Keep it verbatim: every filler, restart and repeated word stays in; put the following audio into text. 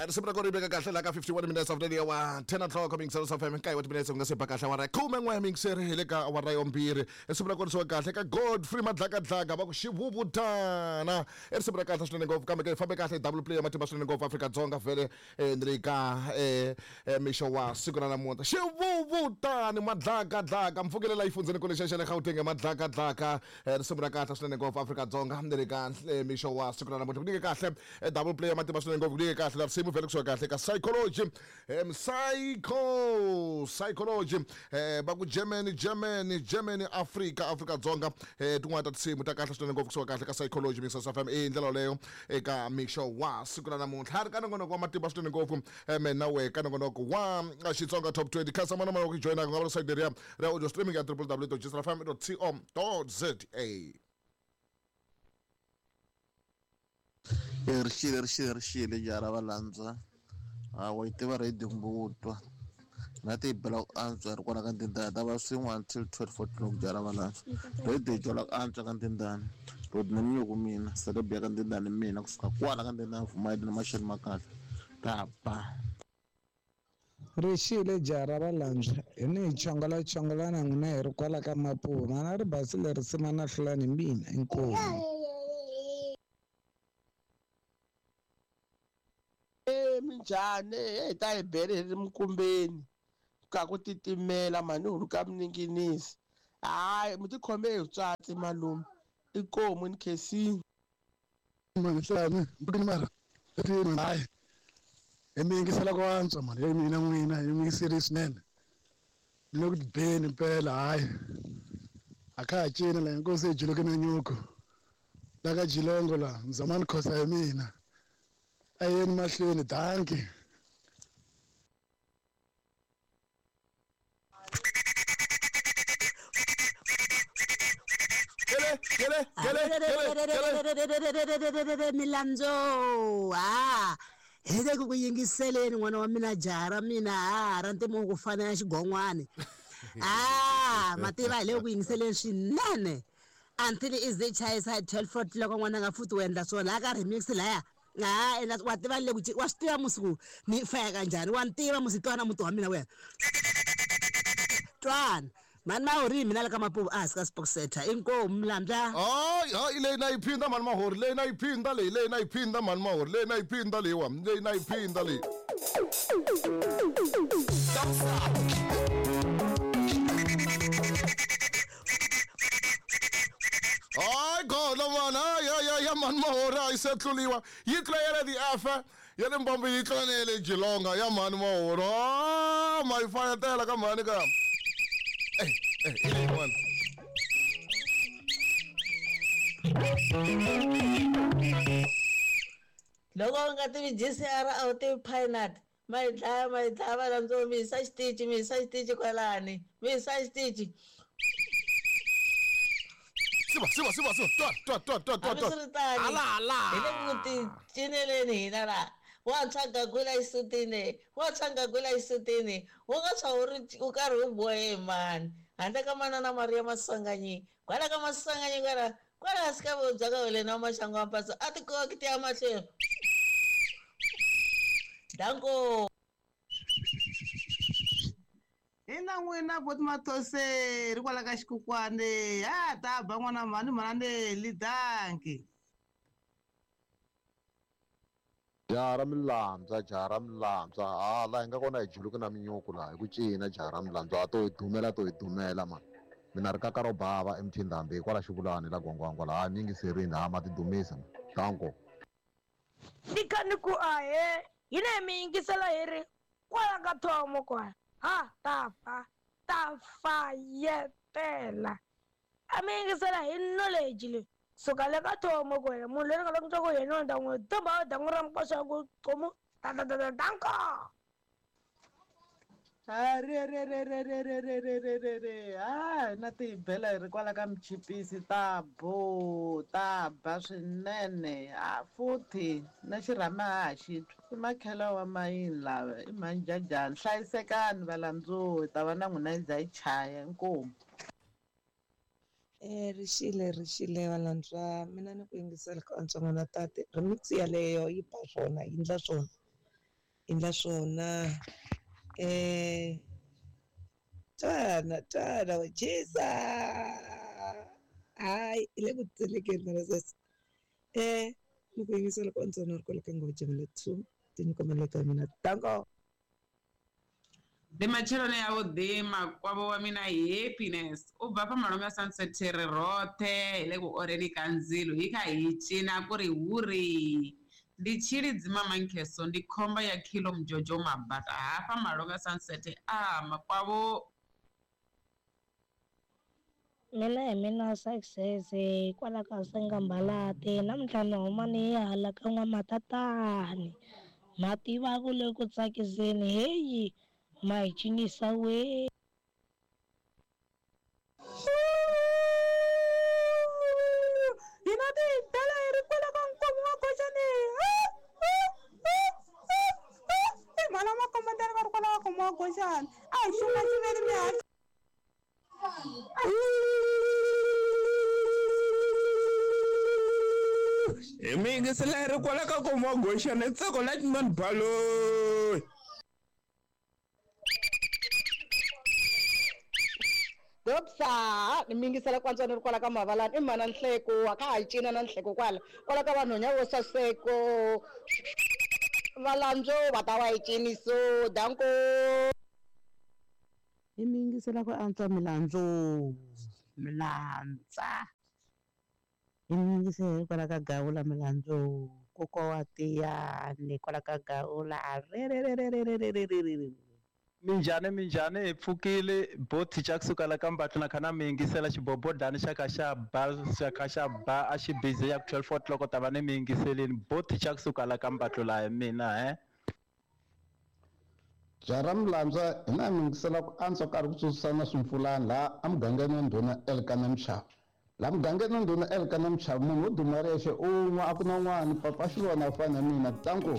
Risimu ra kona ri veka kahle laha ka fifty-one minutes after the hour ten o'clock mixer of F M nkaye wa timinetse ku nga se ba kahle awara khume n'we mixer hi le ka awara yombirhi. Risimu ra kona risiwa kahle ka Godfrey Madlakadlaka va ku xivuvutana. I risimu ra kahle swinene ngopfu, kambe ke fambe kahle double play ya matimba swinene ngopfu Afrika-Dzonga vhele ni le ka mixo wa siku ra namuntlha. Xivuvutani Madlakadlaka mpfukelela yi fundzeni kule xa le Gauteng Madlakadlaka. Risimu ra kahle swinene ngopfu Afrika-Dzonga ni le ka mixo wa siku ra namuntlha. Ku nyike kahle double play ya matimba swinene ngopfu, ku nyike kahle la risimu vhele kusuka kahle ka Psychology, um psycho psychology eh va ku Germany Germany Germany Africa Afrika-Dzonga. eh tin'wana ta tinsimu ta kahle swinene ngopfu kusuka kahle ka Psychology Mixers F M i ndlela yoleyo eka mixo wa siku ra namuntlha. Ha ri ka nongonoko wa matimba swinene ngopfu mina we ka nongonoko wa Xitsonga Top twenty. Khansa mana mana ku joyina ku nga va site leriya ra audio streaming ya w w w dot g f m dot co dot z a. Rixile rixile rixile jara va landza hawa yi tiva radio kumbe wo twa na ti bela ku antswa ri kwala ka Ndindani ta va swin'we until twelve o'clock jara va landza radio yi twala ku antswa ka Ndindani road na minyuku mina celeb ya ka Ndindani mina kusuka kwala ka Ndindani Vumayini na maxelo ma kahle ta ba. Rixile jara va landza hi ni hi chongola chongola na n'wina hi ri kwala ka Mapuva mana ri basile risimu na hlulani mina inkomu. Minjhani hi ta hi bele hi ri minkumbeni ka ku titimela mhani hulu ka mininginisi hayi mi tikhome hi tswatsi malume inkomu ni khensini. Mani hlani mbukini mara hayi hi mi yingisela ku antswa mani ya mina n'wina hi mi yingiseri swinene ni le ku tibeni mpela hayi a kha ha cina la inkosi hi juluke na nyuku la ka Jilongo la Mzamani Khosa hi mina a yeni mahlweni danki. Gele gele gele gele milandzo ha hi le ku yingiseleni n'wana wa mina jaha ra mina ha ra ntimo ku fana na xigon'wana ah mativa hi le ku yingiseleni swinene until is the chayisa twelve o'clock n'wana nga futhi u endla swona la ka remix laya. Ah ena wa tiva le ku wa swi tiva musiku ni faya kanjhani wa ni tiva musi twana muti wa mina wena twana mani mahori mina le ka Mapuva a hansi ka Sport Center inkomu Mlandla. Hayi hayi leyi na yi phinda mani mahori leyi na yi phinda leyi leyi na yi phinda mani mahori leyi na yi phinda leyiwa leyi na yi phinda leyi. Hayi khona mani hayi hayi ya mani mahori a yi se tluliwa yi tlula ya le ti-F ya le Mbambo yi tlula na ya le Jilonga ya mani mahori a ma yi fayetela ka mhani ka eh eh i leyin'wana. Loko u nga tivi G C R a wu tivi Pinut ma yi dlaya ma yi dlaya va landzo mi yisa xitichi mi yisa xitichi kwalani mi yisa xitichi. Siva siva siva siva twa twa twa twa twa twa hambiswiritano ala ala hi le ku ti cineleni hina laha wa tshwa gagula xisutini wa tshwa gagula xisutini wu nga tshwa wu ri u karhi wu bohe mani handle ka manana Maria Maswanganyi kwala ka Maswanganyi kwala kwala hansi ka vobya ka wena wa maxangu wa mpatso a ti koki ti ya mahlweni danko. Ina n'wina boti Mathoseri kwala ka xikukwane ha ta ba n'wana mhani mhani li danki. Jaha ra milandza jaha ra milandza ha laha hi nga kona hi juluke na minyuku laha hi ku cina jaha ra milandza a to hi dumela to hi dumela mani mina ri kaka ro bava emthindhambi hikwala xivulani la gwangwangwa laha mi yingiserini ha ma tidumisa danko. Ni kha ni ku ahe hina hi mi yingisela hi ri kwala ka thomo kwala ha ta fa ta fayetela a mi yingisela hi knowledge leyi suka le ka thomo kwena munhu loyi ni nga loko ku yena ni ta n'wi tumba dangu ra mikoxa ku qomu ta ta ta ta danko. Ha re re re re re re re re re re re ha na ti bela hi ri kwala ka Michipisi ta bo ta ba swinene ha futhi na xirhama ha xi twa i makhela wa mayini lava i manjajani hlayisekani valandzuwi ta va na n'wina yi za yi chaya inkomu. Eh rixile rixile valandzwa mina ni ku yingisela ka antswa n'wana tate remix yaleyo yi ba swona yi endla swona Endla swona eh twana twana wa chisa hayi hi le ku tselekeni mara sweswi eh ni ku yingisela ku antswa na ri kwala ka Ngopfu two tinyiko maleka ya mina danko. Ndi matsheloni ya vhuḓi makwavho wa mina Happiness u bva fha malome a Sunset ri roṱhe hi le ku oreni ka ndzilo hi kha hi cina ku ri huri ndi tshilidzi Mama Nkheso ndi khomba ya Khilo Mjojo Mabata hafha malome a Sunset a makwavho. Mina hi mina Success kwala ka Sengambalati namuntlha ni huma ni ya hala ka N'wamatatani ma tiva ku le ku tsakiseni heyi ma hi cinisa we. Hina tibela hi ri kwala ka nkomo wa Goxani i mhana makombetani va ri kwala ka nkomo wa Goxani a hi xuma xiveri mi hatla. Hi mi yingisela hi ri kwala ka nkomo wa Goxani ntsako Lightman Baloyi. Dopsa ni mi yingisela ku antswa ni ri kwala ka Mavalani i mhana Nhleko a ka ha cina na Nhleko kwala kwala ka vanhwenya vo saseko valandzo va ta va yi ciniso danko. Hi mi yingisela ku antswa milandzu milandza hi mi yingisela hi kwala ka Gawula milandzu kokwa wa tiyani kwala ka Gawula rerererererererere. Minjhani minjhani hi pfukile boti xa kusuka la ka Mbatlu na kha na mi yingisela xibobodani xa kha xa ba xa kha xa ba a xi busy ya ku twelve o'clock ta va ni mi yingiseleni boti xa kusuka la ka Mbatlu laha hi mina he. Jara Milandza hina mi yingisela ku antswa karhi ku tsutsana swimpfulani laha emugangeni wa ndhuna Elkana Mchava laha mugangeni wa ndhuna Elkana Mchava munhu wo duma yexe un'we a ku na n'wana papa xi vona ku fana na mina tanku.